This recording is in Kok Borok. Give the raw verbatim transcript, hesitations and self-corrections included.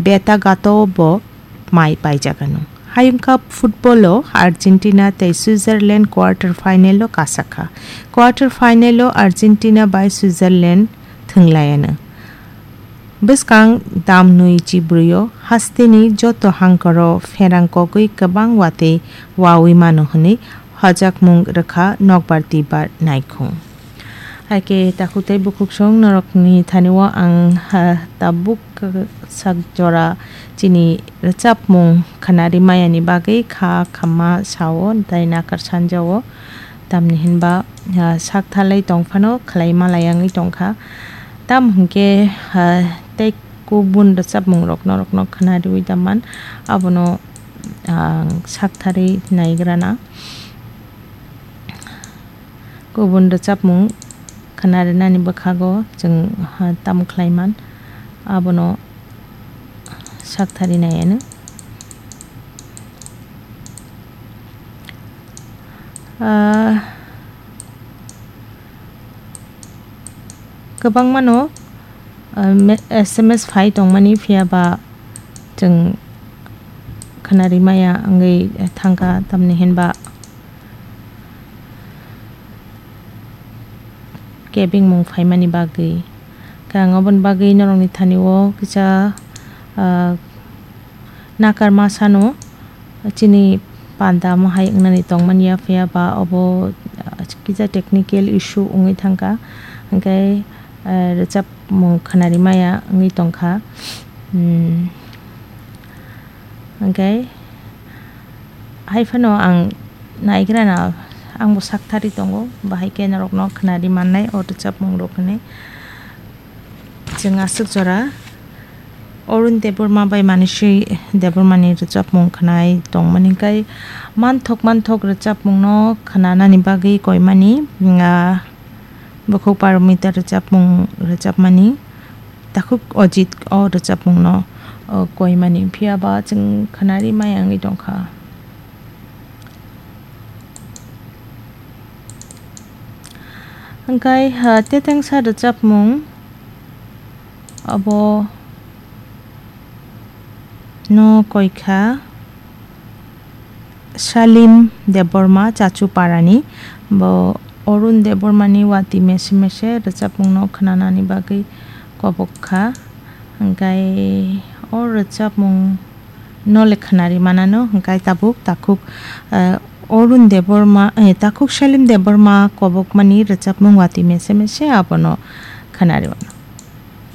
Betagato bo mai paijagano. Hayung Cup football o Argentina tei Switzerland quarter final o kasakha. Quarter final o Argentina bai Switzerland thwnglayano. Bwskang dam nui chibrwi o hasteni joto hangkoro pherang kogwi kwbang watwi wawi mano hwnwi hojakmung rwkha nokbar twibar naikhung. Hai khe takhuk tei bukhuksong norokni thani o ang, ha, tabuk sak jora chini rwchapmung khwnari mayani bagwi kha khamma sao tei nakar sanjao. Tamni hinba, ah, sak thalai tong phano khlai malai wngwi tong kha. Tamo hwn khe, ah, tei kubun rwchapmung rok norokno khwnariwi da man, abono ang sak tharwi naigrana. Kubun rwchapmung khwnarinani bwkhago chwng, ha, tamo khlai man, abono sak tharwi nai anw. Ah, kwbangmano, ah, me-, S M S phai tongmani, phiya ba chwng khwnari maya wngwi thangkha, tamni hinba kebengmung phaimani bagwi. Khe ang oboni bagwi norokni thani o kisa, ah, nakar ma sano chini panda mohai wngnani tongmani ya, phiya ba obo, ah, kisa technical issue wngwi thangkha, hwnkhe, ah, rwchapmung khwnari maya wngwi tongkha. Hmm. Hwnkhe hai phano ang naigrana, angbo sak tharwi tongo, bahai khe norokno khwnari mannai o rwchapmung rok hwnwi. Chwng aswk jora Arun Debbarma bai Manisi Debbarmani rwchapmung khwnai tongmani, hwnkhe manthok manthok rwchapmungno khwnanani bagwi koimani, ah, Bukhuk Paromita rwchapmung rwchapmani, takhuk Ojit o rwchapmungno, o, koimani, phiya ba chwng khwnari maya wngwi tongkha. Hwnkhe, ha, tetengsa rwchapmung abo no koikha Salim Debbarma, Chachuparani. Bo Arun Debbarmani watwi mese mese rwchapmungno khwnanani bagwi kobok kha. Hwnkhe o rwchapmung no le khwnari manano, hwnkhe tabuk takhuk, eh, Arun Debbarma, eh, takhuk Salim Debbarma kobokmani rwchapmung watwi mese mese abono khwnari mano.